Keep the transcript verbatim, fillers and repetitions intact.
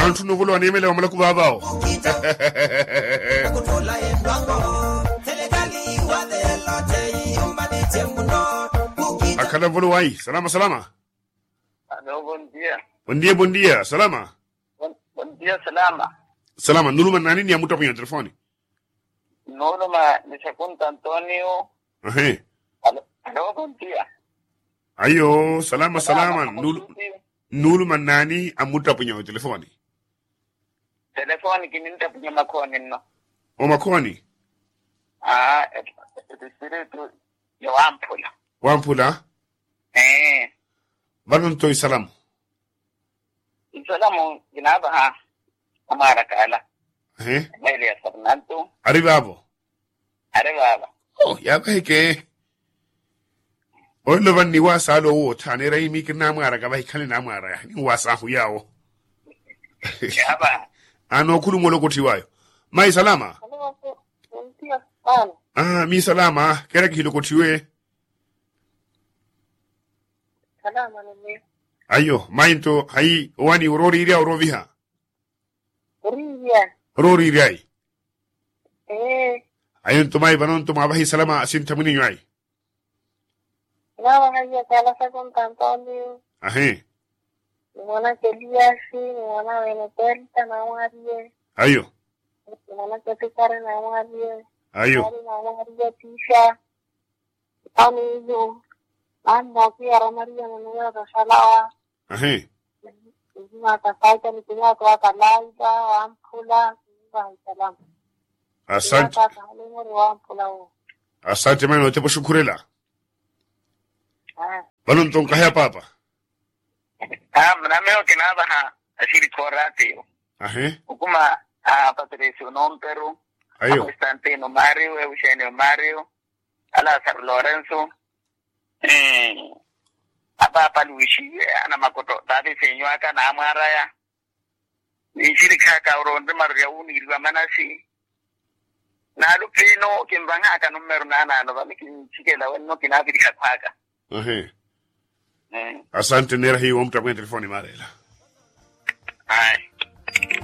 Anthu novolowa neemela wa malaku vaavawo. Akhala volowayi salama salama. Alo bondia. Bondia bondia salama. Bondia salama. Salama nuluma nani ni amuttapunya telefoni? Nuluma ni sekunta antonio. Ahe. Alo bondia. Ayo salama salama. Nuluma nani amuttapunya otelefoni? Telefoni kininttapunya omakhooni nno. Omakhooni? Aa. Etisiritu ya wamphula. Wamphula. Ee. Vano nto isalamu. Isalamu kinaapaha amwaaraka ala. Ehe. Mweeli ya sarnantu. Ari vaavo? Ari vaava. Oo yaavaheke. Olelo vano niwaasa ale owo otthaana era imi kirinamwaaraka vahikhale namwaaraya niwaasa ahu yaawo. Yaava. Ano okhuluma olokotthiwaayo. Mayi salama. Aa miisalama keera kihilokotthiwe. Ayo mayi nto hayi owani orooriirya orooviha? Orooriirya. Orooriiryayi. Ayo nto mayi vano nto mwaavaha isalama asintha mwininyu ayi. Naavaha iya sala sakunta antonio. Ahi. Ni mwanaka eliyasi ni mwana wene pelta namwariye. Ayo. Ni mwanaka etikari namwariye. Ayo. Namwariye tisha. Aniiyu nammokiya ramariya mweneyooto salawa. Ahi. Nzimaka saita ni kinyaka wa kalaita wamphula. Nzimaka salama. Asante. Wamphula wo. Asante mani otepa oxukhurela. Vano nto nkaheya paapa. Aa muna meyo kinaavaha axirikhi oraatiyo. Ahi. Okuma a patresi onomperu. Ayo. Akonstantino mario euxenio mario. Alasaro lorenso. Apaapa luixiye anamakoto taati senyu aka naamwaaraya. Ninxirikhaka oro nrimarorya wuniiriwa manasi. Naaluphino kinvanhaka nummeru naanaano vano kinchikela wenno kinaaviriha khwaka. Asante neera hiyo wamuttapwenya telefoni maareela. Ayi.